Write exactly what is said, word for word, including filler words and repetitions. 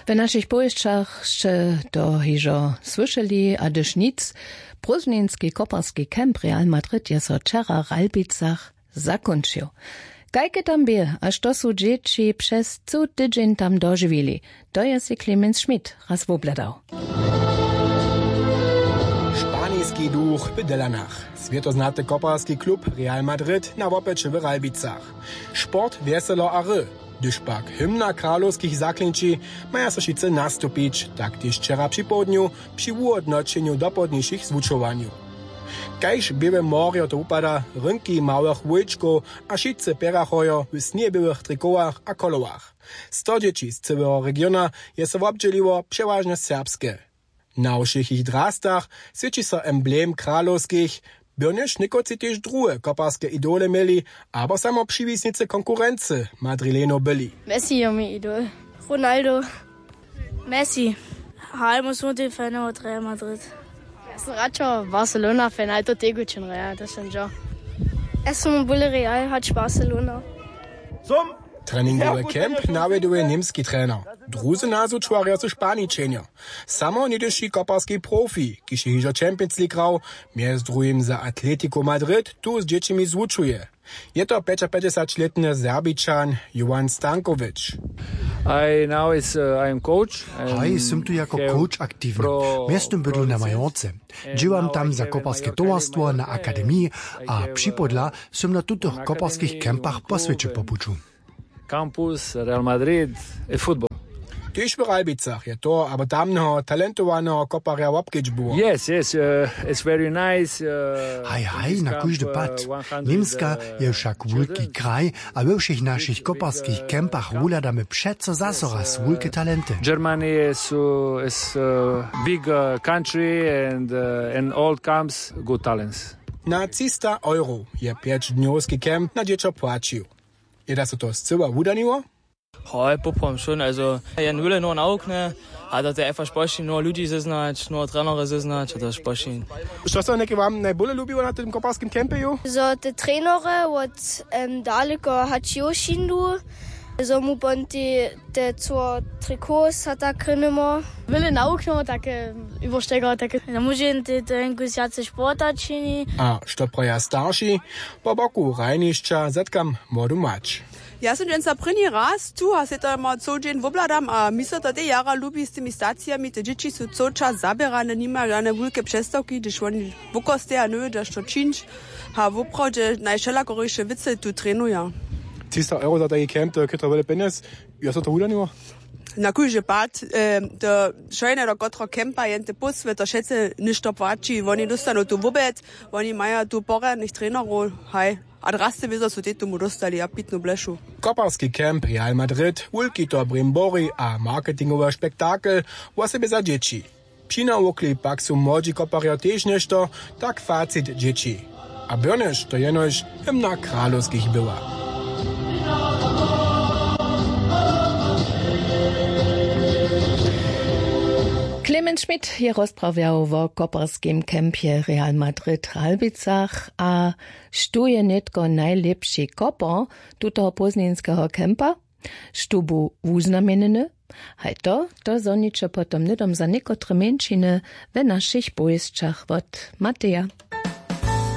W našich powěsćach sće to hižo słyšeli, a hdyž nic, prózdninski koparski camp Real Madrid je so wčera w Ralbicach zakónčił. Kajke tam bě a što su dźěći přez cył tydźeń tam dožiwili, to je sej Clemens Schmidt raz wobhladał. Španiski duch w Dylanach. Swětoznaty koparski klub Real Madrid na wopyće w Ralbicach. Sport, wjeselo a hry. Hdyž pak hymna kralowskich zaklinči, maja so wšitcy nastupić, tak tež wčera připołdnju při wuhódnoćenju dopołdnišich zwučowanjow. Kaž běłe morjo to wupada, rynki małych wójčkow a wšitcy pěrachojo w sněběłych trikowach a kolowach. Sto dźěći z cyłeho regiona je so wobdźěliło, přewažnje serbske. Na wšěch jich drastach swěći so emblem kralowskich. Byrnjež někotři tež druhe koparske idole měli, abo samo přiwisnicy konkurency madrilenow byli. Messi je mój idol. Ronaldo. Messi. Haj, mój słónty fan od Real Madrid. Ja sam radšo Barcelona fan, ale to tegućin Real, to sam džo. Ja sam bóle Real hač Barcelona. Treningowy camp nawjeduje němski trener. Druzy nazwučwarja su Španičenjo. Samo něhdyši koparski profi, kiž je hižo Champions League hrał, mjez druhim za Atletico Madrid tu z dźěćimi zwučuje. Je to pjećapjećdźesaćlětny Serbičan Jovan Stanković. I now is, uh, I am coach. Haj, sym tu jako coach aktiwny. Mjeztym bydlu na Majorce. Dźěłam tam za koparske towarstwo na akademiji a připodla sym na tutych koparskich campach po swěće po puću. Campus, Real Madrid, e football. Tež w Ralbicach je toho abo tamneho talentowaneho koparja wobkedźbował. Yes, yes, uh, it's very nice. Uh, haj, haj, na kóždy pad. Němska je wšak wulki kraj a we wšěch našich koparskich campach wuhladamy přeco zaso raz wulke talenty. Germany is, uh, is a big, uh, country and, uh, in all camps good talents. Na třista euro je pjećdnjowski camp na dźěćo płaćił. Je da so to scyła wudaniło? Hoj, poprawom šón, also jen wule noho nawuknje, a to te einfach spošin noho ludźi zeznać, noho trenery zeznać a to spošin. Što so něke wam najbóle lubiło na tym koparskim campiju? Zo te trenery wot, em, daleko hač jo šindu, zo mu pon te, te co trikots a tak krynimo. Wyle nawuknjo take, iwoštego take. No móže jen te, te enkus wjace sporta čini. A što praja starši? Po boku hrajnišća zetkam młodu mać. Ja sym dźensa prěni raz tu a sej to mał cył dźeń wobhladam a mi so to tež jara lubi z tymi stacijami, te dźěći su cył čas zaběrane, nimaja žane wulke přestawki, hdyž woni wokosteja, njewědźa što čińć. A woprawdźe najwšelakoriše wěcy tu trenuja. Třista euro za tajki camp, to je chytro wjele pjenjez. Jo so to wudaniło? Na kóždy pad, e, to šojne do kotreho campa jen te pósły to wšetcy něšto płaći, woni dóstanu tu wobjed, woni maja tu porjadnych trenerow, haj. A drasty wězo su tej tomu dóstali a pitnu blešu. Koparski camp Real Madrid, wulki to brimbori a marketingowy spektakel, wosebje za dźěći. Přinawukli pak su młodźi koparjo tež něšto, tak facit dźěći. A byrnjež to jenož hymna kralowskich była. Clemens Schmidt je rozprawjał wo koparskim campje Real Madrid w Ralbicach a štó je nětko najlěpši kopor tutoho pózdninskeho campa? Štó bu wuznamjenjeny? Haj to, to zhoniće potom hnydom za někotre mjeńšiny we našich powěsćach wot Mateja.